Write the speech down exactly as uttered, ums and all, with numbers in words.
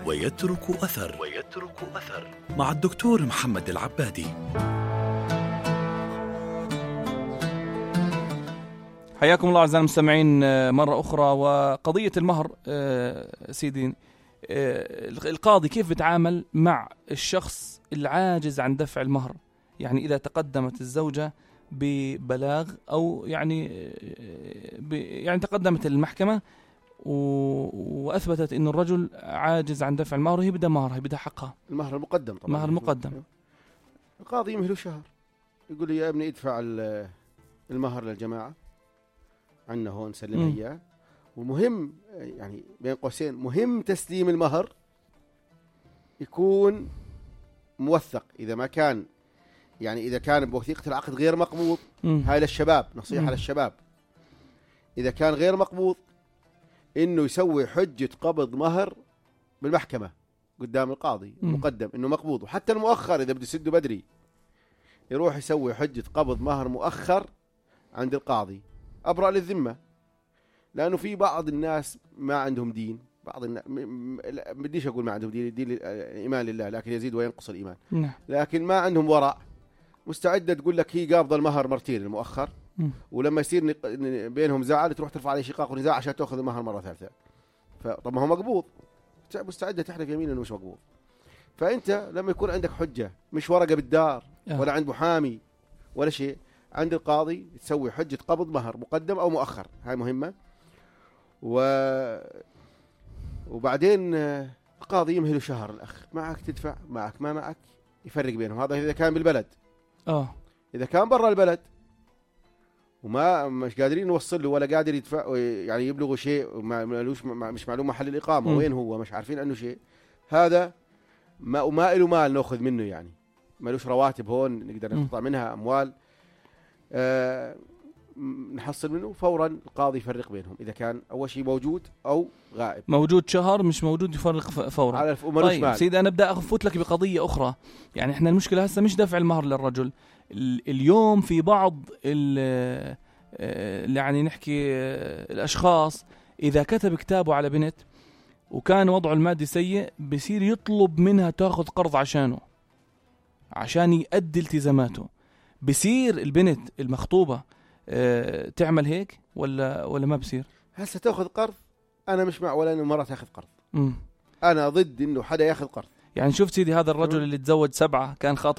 ويترك أثر ويترك أثر مع الدكتور محمد العبادي. حياكم الله أعزائي المستمعين مرة أخرى. وقضية المهر سيدي، القاضي كيف بيتعامل مع الشخص العاجز عن دفع المهر؟ يعني إذا تقدمت الزوجة ببلاغ أو يعني يعني تقدمت المحكمة وأثبتت إنه الرجل عاجز عن دفع المهر، هي بدها مهر، هي بدها حقها، المهر المقدم طبعا، مهر مقدم. القاضي يمهله شهر، يقول لي يا ابني ادفع المهر للجماعة عنا هون، سلمها إياه. ومهم يعني بين قوسين، مهم تسليم المهر يكون موثق. إذا ما كان يعني إذا كان بوثيقة العقد غير مقبوض، هاي للشباب نصيحة. مم. للشباب إذا كان غير مقبوض إنه يسوي حجة قبض مهر بالمحكمة قدام القاضي مقدم إنه مقبوض. وحتى المؤخر إذا بده يسده بدري يروح يسوي حجة قبض مهر مؤخر عند القاضي أبرأ للذمة. لأنه في بعض الناس ما عندهم دين، بعض الناس ما بديش أقول ما عندهم دين، دين الإيمان لله لكن يزيد وينقص الإيمان. نعم. لكن ما عندهم ورع، مستعدة تقول لك هي قابضة المهر مرتين المؤخر، ولما يصير بينهم زعل تروح ترفع عليه شقاق ونزاع عشان تأخذ المهر مرة ثالثة. فطب ما هو مقبوض، مستعدة تحلف يمين إنه مش مقبوض. فأنت لما يكون عندك حجة مش ورقة بالدار ولا عند محامي ولا شيء، عند القاضي تسوي حجة قبض مهر مقدم أو مؤخر، هاي مهمة. و... وبعدين القاضي يمهله شهر، الأخ معك تدفع، معك ما معك يفرق بينهم. هذا إذا كان بالبلد. آه. إذا كان برا البلد وما مش قادرين نوصل له ولا قادر يدفع يعني يبلغوا شيء وما مالوش مش معلوم محل الإقامة م. وين هو، مش عارفين عنه شيء، هذا ما وما له مال نأخذ منه، يعني مالوش رواتب هون نقدر نقطع منها أموال، آه نحصل منه فورا. القاضي يفرق بينهم إذا كان أول شيء موجود أو غائب. موجود شهر مش موجود يفرق فورا. على طيب سيدي أنا بدأ أفوت لك بقضية أخرى. يعني إحنا المشكلة هسه مش دفع المهر للرجل. اليوم في بعض يعني نحكي الأشخاص إذا كتب كتابه على بنت وكان وضعه المادي سيء بصير يطلب منها تأخذ قرض عشانه عشان يؤدي التزاماته. بصير البنت المخطوبة أه تعمل هيك ولا ولا ما بصير؟ هسه تأخذ قرض؟ أنا مش مع ولا إنه مرة تأخذ قرض. مم. أنا ضد إنه حدا يأخذ قرض. يعني شفت سيدي هذا الرجل اللي تزوج سبعة كان خاطب